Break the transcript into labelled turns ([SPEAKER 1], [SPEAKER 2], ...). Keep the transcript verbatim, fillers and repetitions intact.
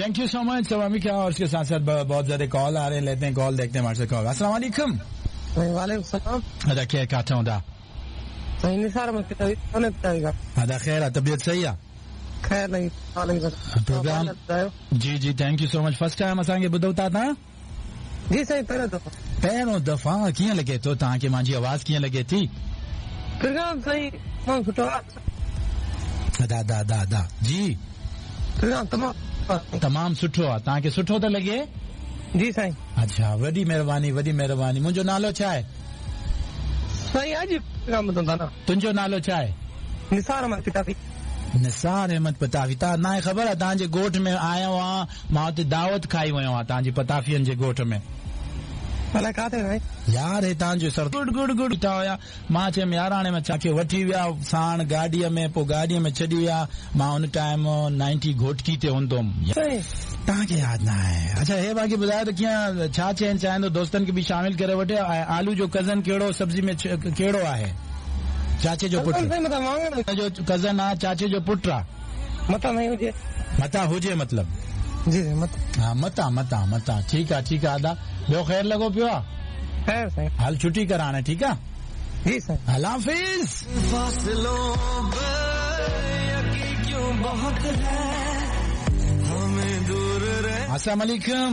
[SPEAKER 1] Thank you so much Wamiqa. और उसके साथ साथ बहुत ज्यादा कॉल आ रहे हैं, लेते हैं कॉल, देखते हैं हमारे से कॉल। अस्सलाम वालेकुम।
[SPEAKER 2] वालेकुम सलाम।
[SPEAKER 1] अदा खैर काथा हूंदा?
[SPEAKER 2] साईं निसार अहमद पितावी, कौन पितावी का?
[SPEAKER 1] अदा खैर, तबीयत सही है?
[SPEAKER 2] खैर नहीं,
[SPEAKER 1] प्रोग्राम जी जी thank you so much. First time असांखे ॿुधो था तव्हां?
[SPEAKER 2] जी साईं पहिरियों दफ़ो।
[SPEAKER 1] पहिरियों दफ़ा। कीअं लॻे थो तव्हांखे मुंहिंजी आवाज़, कीअं लॻे थी?
[SPEAKER 2] प्रोग्राम साईं तमामु सुठो आहे।
[SPEAKER 1] अदा अदा अदा अदा जी
[SPEAKER 2] प्रोग्राम तमामु
[SPEAKER 1] तमामु सुठो आहे। तव्हांखे सुठो थो लॻे?
[SPEAKER 2] जी साईं।
[SPEAKER 1] अच्छा, वॾी महिरबानी, वॾी महिरबानी। मुंहिंजो नालो छा आहे?
[SPEAKER 2] साईं अॼु प्रोग्राम ॿुधंदा न।
[SPEAKER 1] तुंहिंजो नालो छा आहे?
[SPEAKER 2] निसार अहमद पितावी।
[SPEAKER 1] निसार अहमद पताफी। तव्हां ना ख़बर आहे तव्हांजे ॻोठ में आयो आहियां, मां हुते दावत खाई वियो आहियां तव्हांजी पताफियनि जे ॻोठ में।
[SPEAKER 2] अलाए किथे साईं?
[SPEAKER 1] यार हे तव्हांजो सर गुड गुड गुड बीठा हुया। मां चयमि यार हाणे मां छाखे वठी विया साण गाॾीअ में, पोइ गाॾीअ में छॾी विया। मां हुन टाइम नाइंटी घोटकी ते हूंदो हुउमि। तव्हांखे यादि न आहे? अच्छा हे बाक़ी ॿुधायो त कीअं छा चवणु चाहींदो, दोस्तनि खे बि शामिल करे वठे। ऐं आलू जो कज़न कहिड़ो सब्ज़ी में कहिड़ो आहे? चाचे जो पुट जो कज़न आहे, चाचे जो पुट आहे।
[SPEAKER 2] मतां नहीं हुजे,
[SPEAKER 1] मतां हुजे मतलब
[SPEAKER 2] जी जी मतां।
[SPEAKER 1] हा मतां मतां मतां। ठीकु आहे ठीकु आहे अदा। ॿियो ख़ैर लॻो पियो आहे?
[SPEAKER 2] ख़ैर साईं।
[SPEAKER 1] हल छुट्टी कर हाणे, ठीकु आहे?
[SPEAKER 2] जी साईं।
[SPEAKER 1] अल्लाह हाफ़िज़। अस्सलाम वालेकुम।